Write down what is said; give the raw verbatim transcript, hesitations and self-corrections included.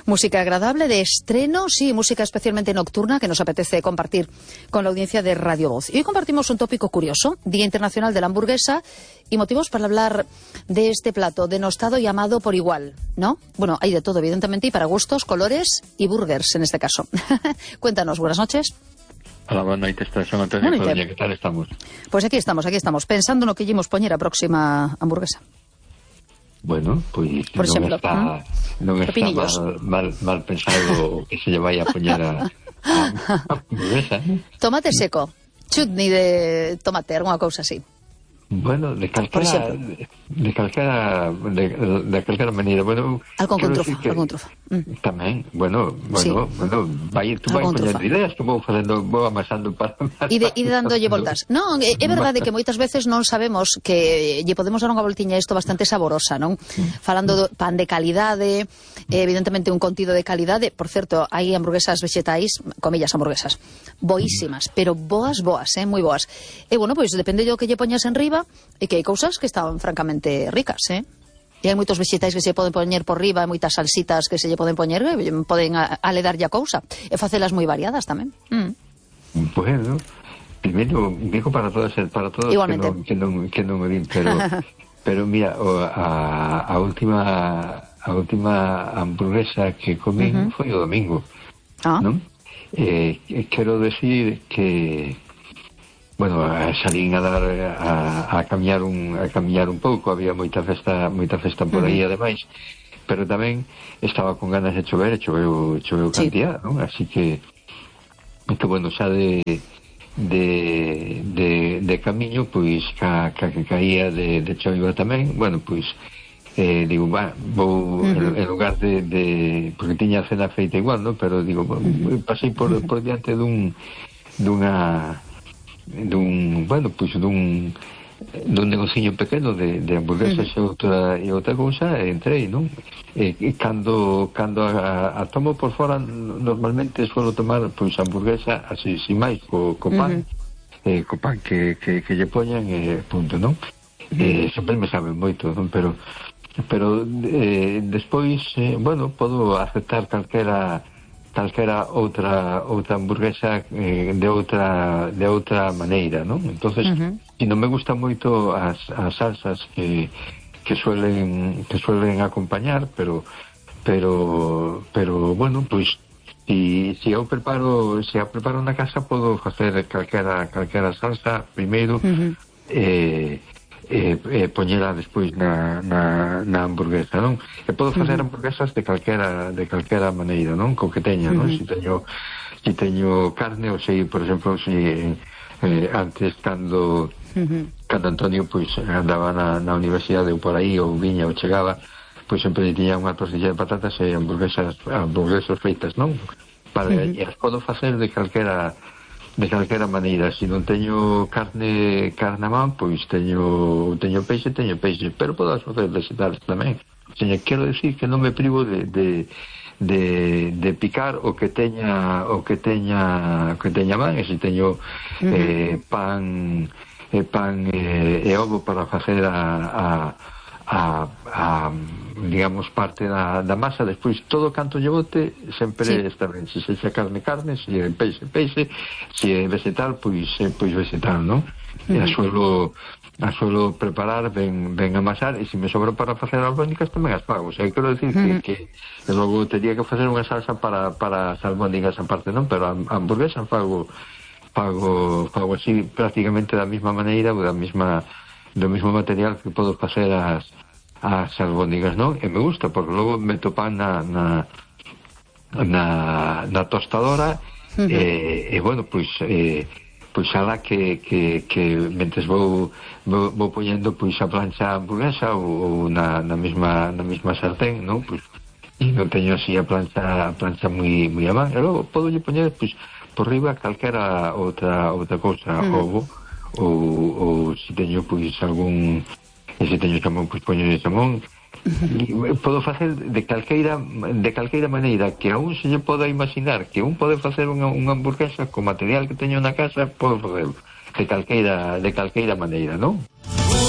Música agradable de estreno, sí, música especialmente nocturna que nos apetece compartir con la audiencia de Radio Voz. Y hoy compartimos un tópico curioso, Día Internacional de la Hamburguesa, y motivos para hablar de este plato denostado y amado por igual, ¿no? Bueno, hay de todo, evidentemente, y para gustos, colores y burgers en este caso. Cuéntanos, buenas noches. Hola, buenas noches, son Antonio Codoña, ¿qué tal estamos? Pues aquí estamos, aquí estamos, pensando no que llevamos poñer a próxima hamburguesa. Bueno, pues Por non exemplo, está, non está mal, mal, mal pensado que se lle vai a poñer a, a, a hamburguesa, ¿eh? Tomate seco, chutney de tomate, alguna cousa así. Bueno, de calquera de, de calquera de, de calquera maneira, bueno, algo con trufo, que, algo con trufo. Mm. Tamén, bueno, bueno, sí. bueno, vai tú vai poñendo ideas que vou facendo, vou amasando para e de, e de dándolle voltas. Non, é, é verdade que moitas veces non sabemos que lle podemos dar unha voltiña a isto bastante saborosa, non? Mm. Falando do pan de calidade, evidentemente un contido de calidade, por certo, hai hamburguesas vegetais, comillas hamburguesas, boísimas, pero boas, boas, eh, moi boas. E bueno, pois depende do que lle poñas en riba, e que hai cousas que están francamente ricas, eh? E hai moitos vegetais que se poden poñer por riba, e moitas salsitas que se lle poden poñer, que poden aledarlle a cousa, e facelas moi variadas tamén. Mm. Bueno, primeiro, digo para todos, para todos igualmente, que non, que non, que non me din, pero, pero mira, a, a última a última hamburguesa que comí uh-huh. foi o domingo, ah. non? Eh, quero decir que bueno, salín a dar a, a camiñar un a camiñar un pouco, había moita festa, moita festa por aí uh-huh. ademais, pero tamén estaba con ganas de chover, e choveu, choveu sí. cantidad, non? Así que que bueno, xa de de de, de camiño, pois ca, ca que caía de, de choiva tamén, bueno, pois eh, digo, va, vou uh-huh. en lugar de, de porque tiña a cena feita igual, non? Pero digo, uh-huh. pasei por, por diante dun dunha dun, bueno, pois dun dun negociño pequeno de, de hamburguesas uh-huh. e outra e outra cousa, e entrei, non? E, e cando cando a, a tomo por fora, normalmente suelo tomar pois hamburguesa así, sin máis, co, co pan, uh-huh. eh, co pan que, que, que lle poñan, e eh, punto, non? Uh-huh. Eh, sempre me saben moito, non? Pero pero eh, despois, eh, bueno, podo aceptar calquera calquera outra outra hamburguesa eh, de outra de outra maneira, non? Entonces, uh-huh. si non me gustan moito as, as salsas que que suelen que suelen acompañar, pero pero pero bueno, pois si si eu preparo, se si eu preparo na casa, podo facer calquera calquera salsa primeiro, uh-huh. eh e, e poñela despois na, na, na hamburguesa, non? E podo facer uh-huh. hamburguesas de calquera de calquera maneira, non? Co que teña, non? Uh-huh. Si teño si teño carne, ou sei, por exemplo, si eh, antes cando uh-huh. cando Antonio pois andaba na, na universidade ou por aí, ou viña ou chegaba, pois sempre tiña unha tortilla de patatas e hamburguesas hamburguesas feitas, non? Para, uh-huh. e as podo facer de calquera de calquera maneira. Se si non teño carne carne a man, pois teño teño peixe, teño peixe, pero podo facer vegetales tamén. O sea, quero decir que non me privo de, de, de, de picar o que teña o que teña o que teña man, e se teño uh-huh. eh, pan eh, pan eh, e ovo para facer a, a A, a, digamos, parte da, da masa, despois todo canto lle bote sempre sí. está ben, se sexa carne, carne, se é peixe, peixe, se é vegetal, pois pois vegetal, non? Uh-huh. E a suelo a suelo preparar, ben, ben amasar, e se me sobra para facer albóndigas tamén as fago. O sea, quero decir uh-huh. que, que logo teria que facer unha salsa para, para as albóndigas aparte, non? Pero a, a hamburguesa fago fago, fago así prácticamente da mesma maneira, ou da mesma do mesmo material que podo facer as as albóndigas, non? E me gusta, porque logo meto pan na na na, na tostadora, uh-huh. e, e bueno, pois eh, pois ala que, que, que mentes vou, vou, vou poñendo pois a plancha hamburguesa ou, ou na, na mesma na mesma sartén, non? Pois e non teño así a plancha a plancha moi moi a man, e logo podo lle poñer pois por riba calquera outra outra cousa, uh-huh. ovo ou, ou se teño pois algún, e se teño xamón, pois poño de xamón. Uh-huh. Podo facer de calqueira de calqueira maneira que a un se lle poda imaginar que un pode facer unha, unha hamburguesa co material que teño na casa, podo facer de calqueira de calqueira maneira, non?